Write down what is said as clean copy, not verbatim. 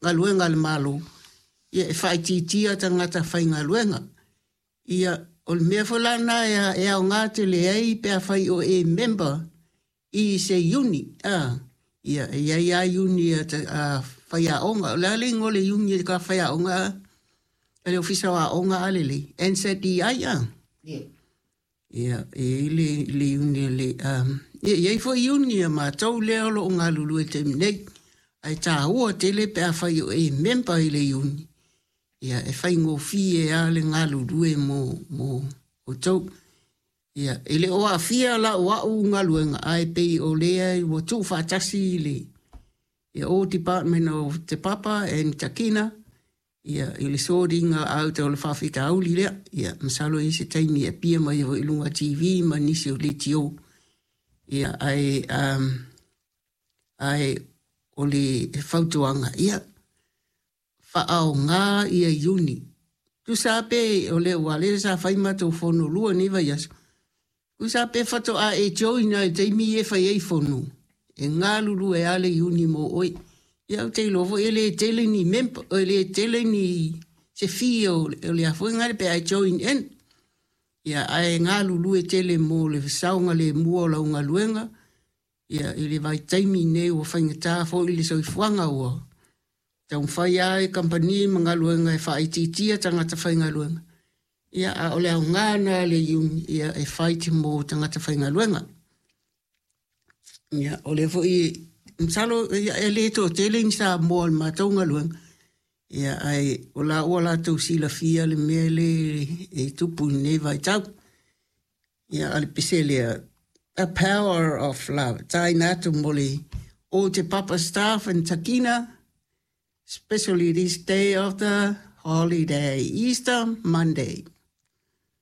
galuega a le Malo, ia e faaitiitia tagata faigaluega. Ia, o le mea foi la lena e aoga tele ai pe afai o e member i se iuni, a, ia, e i ai lava iuni a faiaoga. O le a le igoa o le iuni a faiaoga a le Ofisa o Aoga a lelei? NZEI, a? Ia, e i ai le iuni a le, ia, e i ai foi iuni a matou lea o lo o galulue i le taimi nei. Ae taua tele pe afai o e member i le iuni, ia, e faigofie lava le galulue mo outou. Ia, e le o aafia la o au galuega, ae pei o lea ua tuufaatasi le ia all department of Te Papa and Takina, ia, i le sorting out o le faafitauli lea. Ia, masalo e i ai se taimi e appear mai foi i luga TV ma nisi o leitio. Ia, ae o le fautuaga, ia, faaaoga ia iuni. Tusa pe o le ua lea sa fai matou fono lua nei vaiaso. Tusa pe faatoa e join ai i le taimi e fai ai fono, e galulue lava le iuni mo oe. Ia, ou te iloa foi e le tele ni member, e le tele ni se fee o le a foi ngale pe a e join in. Ia, ae galulue tele mo le saogalemu o lau galuega. Ia, i le vaitaimi nei ua faigata foi le soifuaga ua taumafai lava e kamupani ma galuega e faaitiitia tagata faigaluega. Ia, a o le aoga lena a le iuni, ia, e fight mo tagata faigaluega. Ia, o lea foi, masalo ia, e le toatele ni Samoa o le matou galuega. Ia, ae o la ua latou silafia le mea le e tupu i lenei vaitau. Ia, a le pese lea, The Power of Love. Taina atu mo le all Te Papa staff and Takina, especially this day of the holiday, Easter Monday.